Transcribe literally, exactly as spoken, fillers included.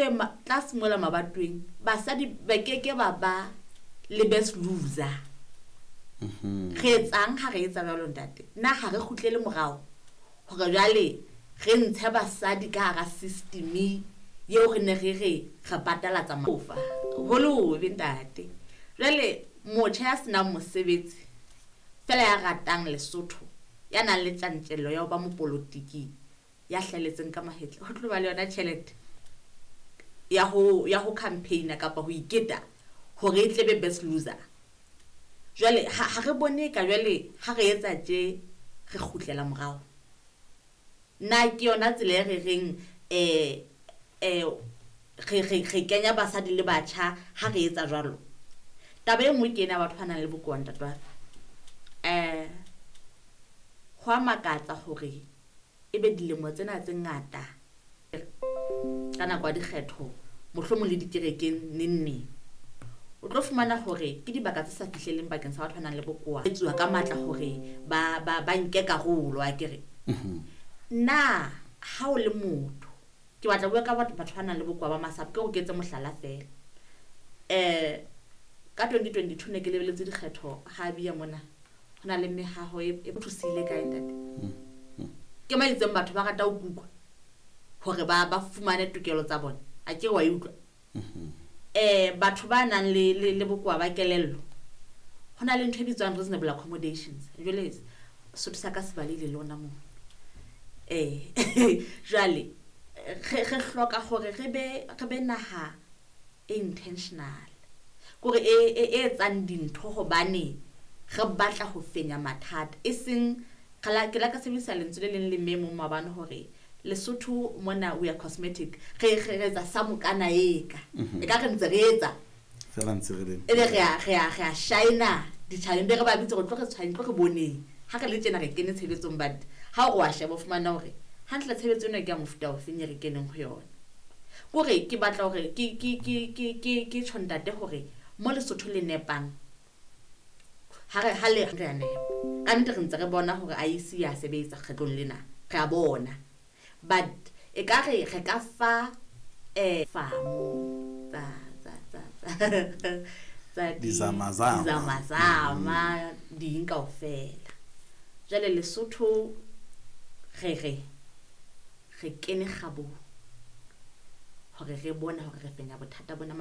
Etswe tlase mola mabatoweng basadi ba keke ba ba le best loser. Re etsang ha re etsa jwalo, ntate? Na ha re kgutlele morao hore jwale re ntshe basadi ka hara system eo re ne re re re patalatsa mafa ho le hobe, ntate? Jwale motjha ya senang mosebetsi fela, ya ratang Lesotho, ya nang le tjantjello ya ho ba mopolotiki, ya hlahelletseng ka mahetla, ho tlo ba le yona tjhelete ya ho ya ho campaign kapa ho iketa hore e tle be best loser. Jwale ha ha re bone ka jwale ha re etsa tje re kgutlela morao. Na ke yona tsela e re reng eh eh re re re kenya basadi le batjha ha re etsa jwalo? Taba e nngwe ke ena, batho ba nang le bokowa, ntate wa ka, eh ho a makatsa hore ebe dilemo tsena tse ngata ka nako ya dikgetho, mohlomong le dikerekeng, neng neng o tlo fumana hore ke dibaka tse sa fihleleng bakeng sa batho ba nang le bokowa, etsuwa ka matla hore ba ba ba nke karolo akere. Nna ha o le motho, ke batla ho bua ka batho batho ba nang le bokowa ba masapo, ke hore ke etse mohlala fela. eh ka twenty twenty-two ne ke lebeletse dikgetho ha bia mona ho na le mehaho e e thusile kae, ntate? Ke ma itseng batho ba rata ho kukwa hore ba ba fumane tokelo tsa bona, a ke wa e utlwa? eh batho ba nang le le, le bokowa ba kelello, ho na le ntho e bitswang reasonable accommodations. Jwale Sotho sa ka se balehile le ona moo. eh jwale re re hloka hore re be re be naha e intentional, kore e e e etsang dintho hobane re batla ho fenya mathata, e seng re la ke la ka sebedisa lentswe le leng le mme mong maobane hore Lesotho mona we are cosmetic. re re re etsa sa mokana eka e ka re ntse re etsa fela ntse re le ebe re a re a re a shina ditjhabeng, be re ba bitse re tlo re tshwane, tlo re boneng ha re le tjena re kene tshebetsong. But ha o re wa sheba, o fumana hore hantle tshebetso ena ke ya mofuta ofeng e re keneng ho yona. Kore ke batla hore ke ke ke ke ke ke tjho, ntate, hore mo Lesotho le nepang ha re ha le re a nepa ka nnete. Re ntse re bona hore I E C ya sebetsa kgetlong lena, re a bona, but e ka re re ka fa eh famo tsa tsa tsa tsa tsa di- Dizamazama. Dizamazama ding kaofela. Jwale Lesotho re re re kene kgabong hore re bone hore re fenya bothata bona.